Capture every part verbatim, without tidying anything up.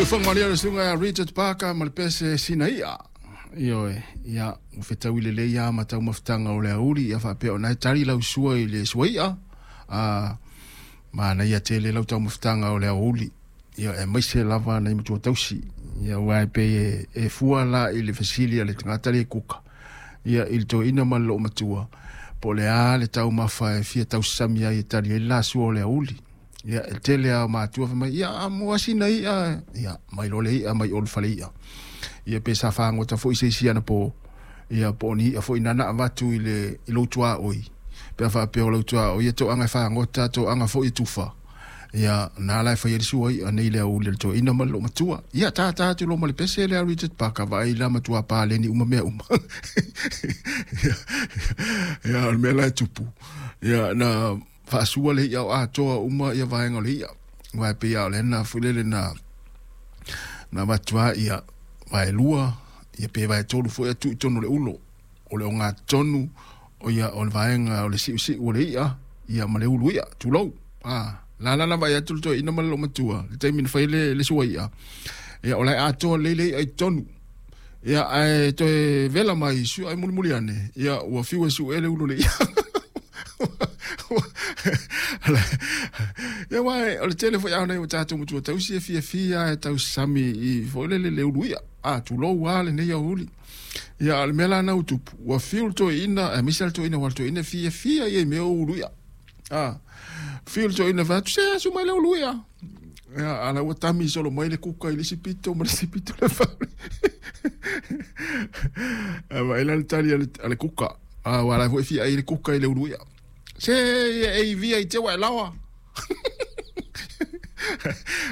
Whangalia le sunga Richard Parker ma le pese sina ia. Ioe, ia, ua fetaui lelei lava ma taumafataga o le auli, ia faapea ona e tali lau sua i le suai'a, a manaia tele lau taumafataga o le aoauli, ia aemaise lava nai matua tausi, ia aua e pei e, e fua la i le fesili a le tagata le kuka, ia i le toeaina ma le loomatua, po o le a le taumafa e fia tausasami ai e tali ai le la sua o le aoauli. Ia, e tele lava o matua fai mai, ia, mo asina i'a, ia, mai loa le i'a mai o le fale i'a. Ia pe sa fagota foi se isi anapo, ia po o ni i'a foi nana avatu i le i lou tuaoi. Pe a faapea o lau tuaoi e toaga e fagota, toaga foi e tufa. Ia, na la e fai ai le sua i'a nei le aoauli a le toeaina ma le loomatua. Ia, tātā atu loa ma le pese lea a Richard Parker, vaai la matua paleni uma mea uma. Ia, ia, o le mea la e tupu. Ia, na faasua le i'a o atoa uma ia vaega o le i'a. Aua e pei lava o lea na foi lele na na avatu lava ia vaelua, ia pe vaetolu foi ae tuu i totonu o le ulo. O le ogatotonu o ia o le vaega o le siusiu o le i'a ia ma le ulu i'a, tulou. A la la na vaai atu le toeaina ma le loomatua i le taimi na fai ai le, le sua i'a, ia o la e atoa lelei le i'a i totonu. Ia ae toe vela mai sua ai mulimuli ane, ia ua fiu e su'e le ulu o le i'a. Ia aua o le tele foi a nai o tatou matua tausi e fiafia e tausasami i foi lele le ulu i'a. A tulou lava lenei aoauli. Ia a o le mea la na ua tupu, ua fiu le toeaina, aemaise lava le toeaina aua o le toeaina e fiafia ia i mea o ulu i'a. A fiu le toeaina fai atu, se asu mai le ulu i'a. Ia a la ua tami solo mai le kuka i le isi pito ma le isi pito le fale. A vaai la le tali a le, a le kuka. A aua la foi e fia ai le kuka i le ulu i'a. Se ia e ivia i te ua e laoa.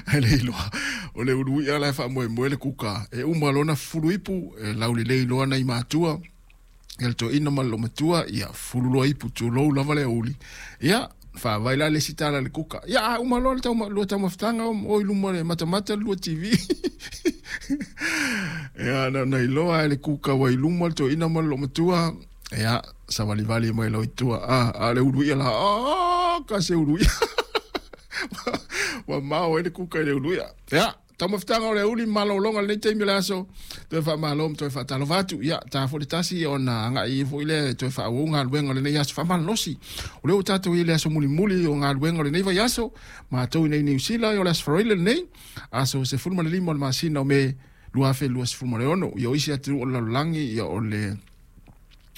Ae le iloa o le ulu i'a la e faamoemoe le kuka e uma loa ona fufulu ipu e laulelei loa nai matua ia le toeaina ma le loomatua ia fufulu loa ipu tulou lava le aoauli ia faavai la le isi tala i le kuka ia a uma loa le tauma, lua taumafataga o i luma o le matamata le lua T V. Ia na ona iloa e le kuka ua i luma le toeaina ma le loomatua ia savalivali mai loa i tua a a o le ulu i'a la a ka se ulu i'a ua mao ai le kuka i le ulu i'a. Ia taumafataga o le aoauli malologa lenei taimi o le aso toe faamalo ma toe faatalofa atu. Ia ta foi le tasi ona agai foi lea toe faaauau galuega o lenei aso faamalolosi. O lea ua tatou i le aso mulimuli o galuega o lenei vaiaso matou i nei Niu Sila o le aso Faraile lenei aso sefulu ma le lima o le masina o Me lua afe luasefulu ma le ono. Ia o isi atunuu o le lalolagi ia o le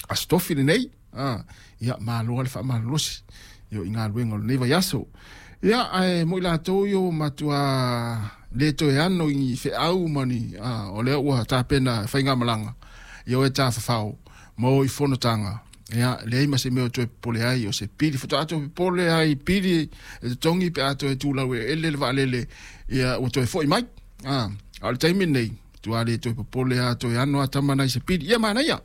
aso Tofi lenei. A ia malo le faamalolosi ia i galuega o lenei vaiaso. Ia ae mo i latou ia ua matua le toe ano i feau ma ni a, o lea ua tapena faigamalaga ia o e tafafao ma o i fonotaga. Ia leai ma se mea o toe popole ai o se pili faatoa toe popole ai pili e totogi pe a toe tulau e ele le vaalele ia ua toe fo'i mai. A a o le taimi lenei tua le toe popole a toe ano a tama nai se pili ia manaia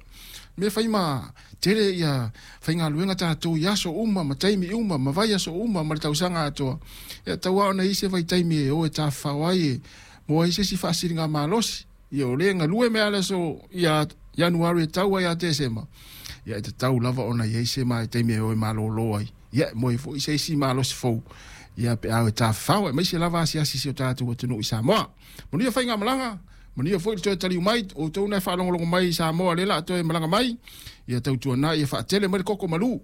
mea fai ma tele ia faigaluega tatou i aso uma ma taimi uma ma vaiaso uma ma le tausaga atoa. Ia tau ona i se vaitaimi e o e tafafao ai e mo ai se isi faasiliga malosi. Ia o lē galue mea le aso ia Ianuari e tau ai ia Tesema. Ia e tatau lava ona iai se ma taimi e o e malōlō ai. Ia mo ai foi se isi malosi fou. Ia pe a e tafafao aemaise lava asiasi si o tatou atunuu i Samoa. Manuia faigamalaga. Manuia foi le toe taliu mai outou na e faalogologo mai i Samoa lea la toe malaga mai. Ia tautuanai ia faatele mai le koko malū.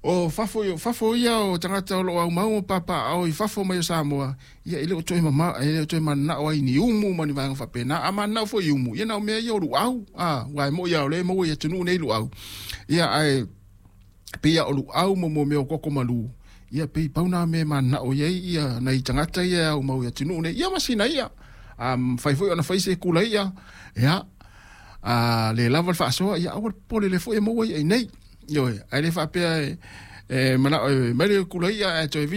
O fafo, fafo ia o tagata o loo aumau ma papaaao i fafo mai o Samoa. Ia e le o toe mama, e le o toe mananao ai ni umu ma ni vaega faapena. A mananao foi i umu, ia na o mea ia o luau. A, aua e moi a o lea e maua i atunuu nei luau. Ia ae pei o luau mo mo mea o koko malū. Ia pei pau nā mea mananao i ai ia nai tagata ia e aumau i atunuu nei. Ia ma sina ia. A fai foi ona fai se kula ia. Ia, a le lava le faasoa, ia aua le popole le foi e maua ia i nei. Ioe, ae le faapea e, e manao e mai le kula ia ae toe